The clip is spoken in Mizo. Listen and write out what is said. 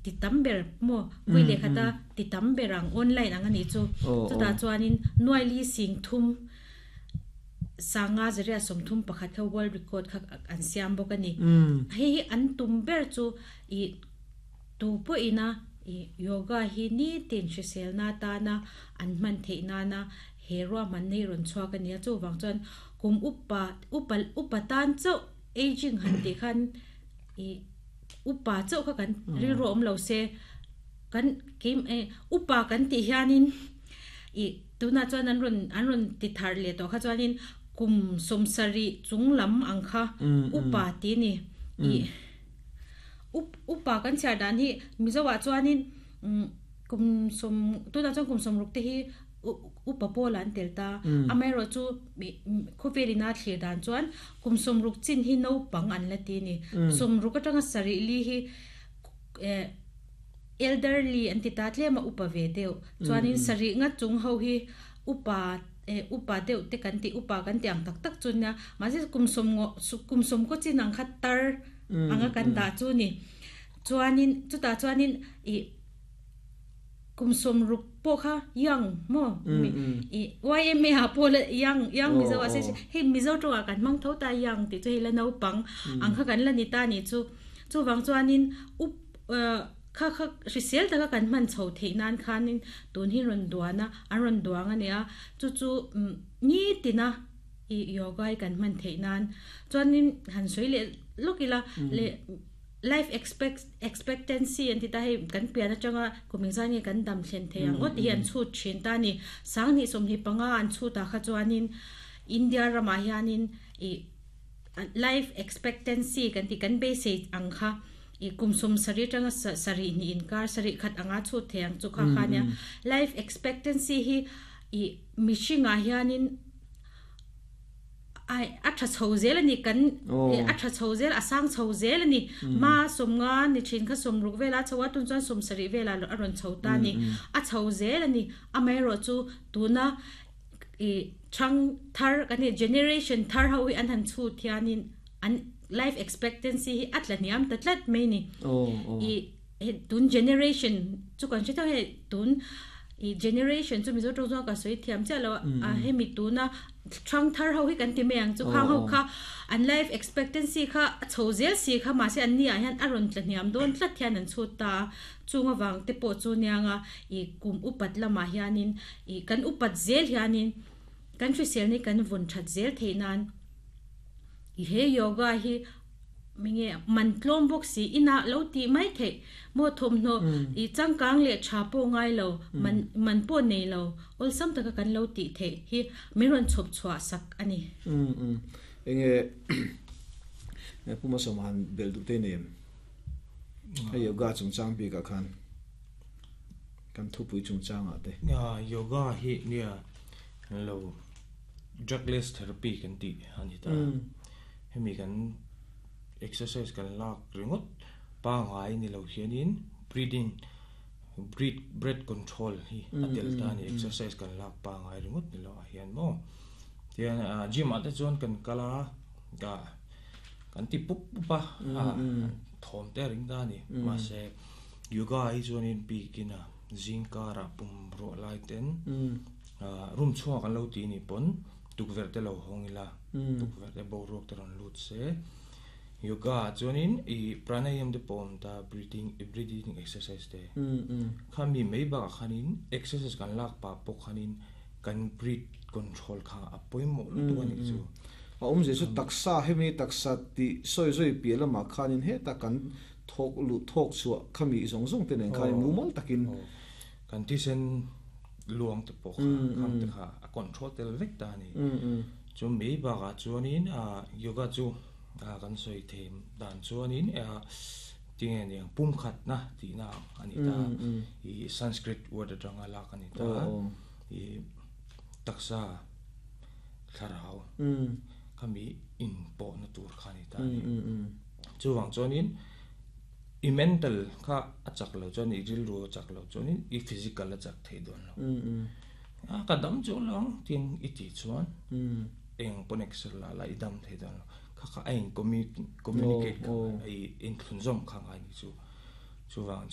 ti tam ber maw vawi leh khata ti tam ber ang online ang a nih chu. Chutah chuanin nuai li sing thum sanga zaria 31 kha world record kha an siam bawk a ni. Hei hi an tum ber chu ih tu pawhina ih yoga hi nitin hriselna atana an hman theih nana he ruahmanna hi rawn chhuak a ni a. Chuvang chuan kum upa upa upa tan chauh aging han tih khan ih upa chauh kha kan rilru awm lo se kan keim eh upa kan tih hianin ih tunah chuan an rawn an rawn ti thar leh tawh kha chuanin kum 70 chung lam ang kha upa tih a ni ih up upa kan chhiar dan hi Mizo ah chuanin umm kum sawm tunah chuan kum 60 te hi upa pawlah an tel ta amaherawh chu khawvel ina thlir dan chuan kum 60 chin hi naupang an la ti a ni 60 atanga 74 hi eh elderly an ti ta tlem a upa ve deuh chuanin sarih nga chung ho hi upa eh upa deuh te kan tih upa kan tih ang tak tak chu nia mahse kum sawm ngaw kum sawm kaw chin ang kha tar anga kan dah chu ni chuanin chutah chuanin ih Kum 60 pawh kha young maw i YMA ah pawh la young young Mizo ah se hei Mizo tawngah kan hmang tho ta young tih chu hei la naupang ang kha kan la ni ta nih chu chuvang chuanin up kha kha hrisel taka kan hman chho theih nan khanin tun hi rawn duan a an rawn duang a nia chu chu nitina i yoga hi kan hman theih nan chuanin han sawi leh lawk ila leh Life expect expectancy an ti ta hei kan pian atanga kum engzah nge kan dam thlen thei ang aw tih hi an chhut thin ta a ni. 2025 an chhut ah kha chuanin India ramah hianin ih life expectancy kan tih kan beisei ang kha ih kum 70 atanga 72 inkar 71 anga chhut thei ang chu kha kha nia. Life expectancy hi ih mihringah hianin Ai, a tha chho zel a ni, kan a tha chho zel, a sang chho zel a ni. Ma 50 ni thin kha 60 vela chho a, tun chuan 70 vela a rawn chho ta a ni. A chho zel a ni. Amaherawh chu tuna i thang thar kan tih generation thar ho hi an han chhut hianin an life expectancy hi a tla hniam ta tlat mai a ni. I tun generation chu kan hre theuh hei tun i generation chu Mizo tawng chuan ka sawi thiam chiah lo a hemi tuna thang thar ho hi kan ti mai ang chu khang ho kha an life expectancy kha a chho zel si kha mahse an ni ah hian a rawn tla hniam dawn tlat hian an chhut ta a chung avang te pawh chu niang a i kum upat lamah hianin i kan upat zel hianin kan hrisel ni kan vawn that zel theih nan i he yoga hi Minge man tlawm bawk si inah lo tih mai theih maw thawmhnaw i changkang leh tha pawh ngai lo man man pawh nei lo awlsam taka kan lo tih theih hi min rawn chhawp chhuah sak a ni. Umm umm enge Pu Masawma han belh duh te nei em? Hei yoga chungchang bikah khan kan thupui chungchangah te. Yoga hi nia lo drugless therapy kan tih a ni ta. Hemi kan exercise kan lak ringawt pangngai ni lo hianin breathing breath breath control hi a tel ta a ni exercise kan lak pangngai ringawt ni lo ah hian maw tihian gym ah te chuan kan kal a kan ti pup pup a thawm te a ring ta a ni mahse yoga hi chuanin bikin a zing karah pum ruah lai ten room chhungah kan lo ti a nih pawn. Tukverh te lo hawng ila, tukverh te boruak te rawn lut se. Yoga ah chuanin i pranayam te pawh a awm ta, breathing breathing exercise te. Kha mi mai bakah khanin exercise kan lak pah pawh khanin kan breath control kha a pawimawh lutuk a nih chu. A awmzia chu taksa hemi taksa tih sawi zawi piah lamah khanin heta kan thawk luh thawk chhuah khami zawng zawng te nen khanin mumal takin. Kan thisen luang te pawh kha khang te kha a control tel vek ta a ni. Chu mai bakah chuanin yoga chu kan sawi thei dan chuanin tinge niang pumkhatna tihna ang a ni ta i Sanskrit word atanga lak a ni ta i taksa thlarau khami inpawhna tur kha a ni ta a ni. Chuvang chuanin I mental kha a chak lo chuan i rilru a chak lo chuanin i physical a chak thei dawn lo. A ka dam chu lang tin i tih chuan eng pawn exer la la i dam thei dawn lo. Kha kha a in communicate kha i inthlunzawm kha ngai ni chu. Chuvang chuan.